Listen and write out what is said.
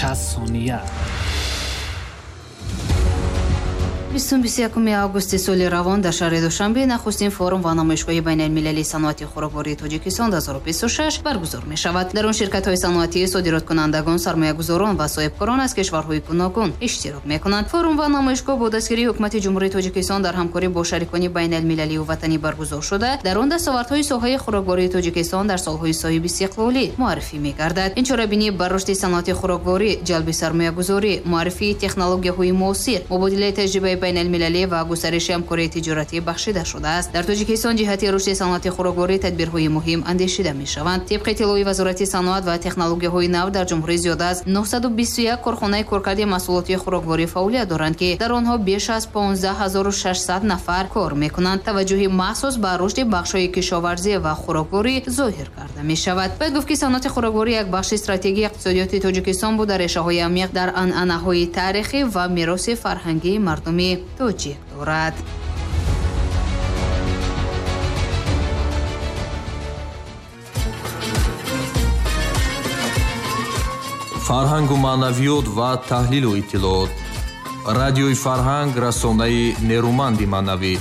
60 сония. 21 августи соли равон дар шаҳри Душанбе нахустин форум ва намоишгоҳи байналмилалии саноати хӯроквории Тоҷикистон 2026 баргузор мешавад. Дар он ширкатҳои саноатӣ, содироткунандагон, сармоягузорон ва соҳибкорон аз кишварҳои гуногун иштирок мекунанд. Форум ва намоишгоҳ бо дастгирии ҳукумати Ҷумҳурии Тоҷикистон дар ҳамкорӣ бо шарикони байналмилалию ватанӣ баргузор шуда, дар он дастовардҳои соҳаи хӯроквории Тоҷикистон дар солҳои соҳибистиқлолӣ муаррифӣ мегардад. Ин чорабинӣ бар рушди саноати хӯрокворӣ, ҷалби сармоягузорӣ, муаррифии технологияҳои муосир, мубодилаи таҷрибаи байналмилалӣ ва густариши ҳамкории тиҷоратӣ бахшида шудааст. Дар Тоҷикистон ҷиҳати рушди саноати хӯрокворӣ тадбирҳои муҳим андешида мешаванд. Тибқи иттилои Вазорати саноат ва технологияҳои нав, дар ҷумҳурӣ зиёда аз 921 корхонаи коркарди маҳсулоти хӯрокворӣ фаъолият доранд, ки дар онҳо беш аз 15 600 нафар кор мекунанд. Таваҷҷӯҳи махсус ба рушди бахшҳои кишоварзӣ ва хӯрокворӣ зоҳир карда мешавад. Бояд гуфт, ки саноати хӯрокворӣ як бахши стратегии иқтисодиёти Тоҷикистон буда, решаҳои амиқ дар анъанаҳои таърихӣ ва мероси фарҳангии мардуми тоҷик дорад. Фарҳангу маънавиёт ва таҳлилу иттилоот. Радиои Фарҳанг, расонаи нерӯманди маънавӣ.